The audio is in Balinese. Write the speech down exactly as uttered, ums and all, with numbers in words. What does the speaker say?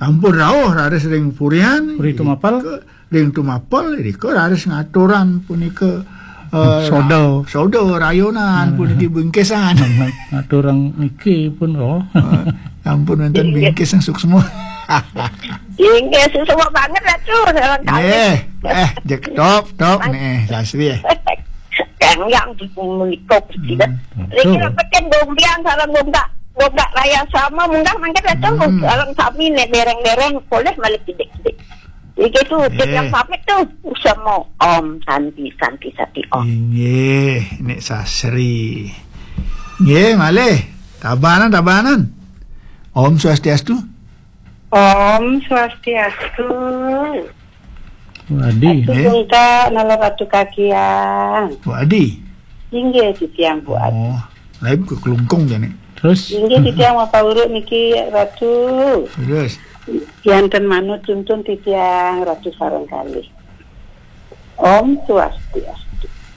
Sampun rauh raris ring purian. Puri tumapel. Irika, ring tumapel irika raris ngaturang punika, eh, soda. Soda rayonan, hmm, puniki bingkisan. Ngaturang niki pun, oh. Eh, sampun wénten bingkis sing suksma. Inggih, suksma banget, Ratu. Sareng kalih. Nggih. Eh, jeg top, top nih, sasri, eh. Yang, yang menika, hmm, niki betul. Niki kan gombiang sareng gonggak, gonggak raya sama munggah mangkin, Ratu. Hmm. Sareng sami nek dereng-dereng polih malih kidik-kidik. Iki tuh, eh, yang pamit tuh sama Om Santi, Santi, Santi, Om. Inggih, Nek Sasri. Nggih, malih. Tabanan, tabanan. Om Swastiastu. Om Swastiastu. Bu Adi. Atu, eh, Bungka, nala Ratu Kakiang. Bu Adi. Inggih, titiang Bu Adi. Oh, lain ke kelungkung jane. Terus? Inggih, titiang mapauruh niki, Ratu. Terus? Yanten manut tuntun titiang, Ratu sareng kalih. Om Swastiastu.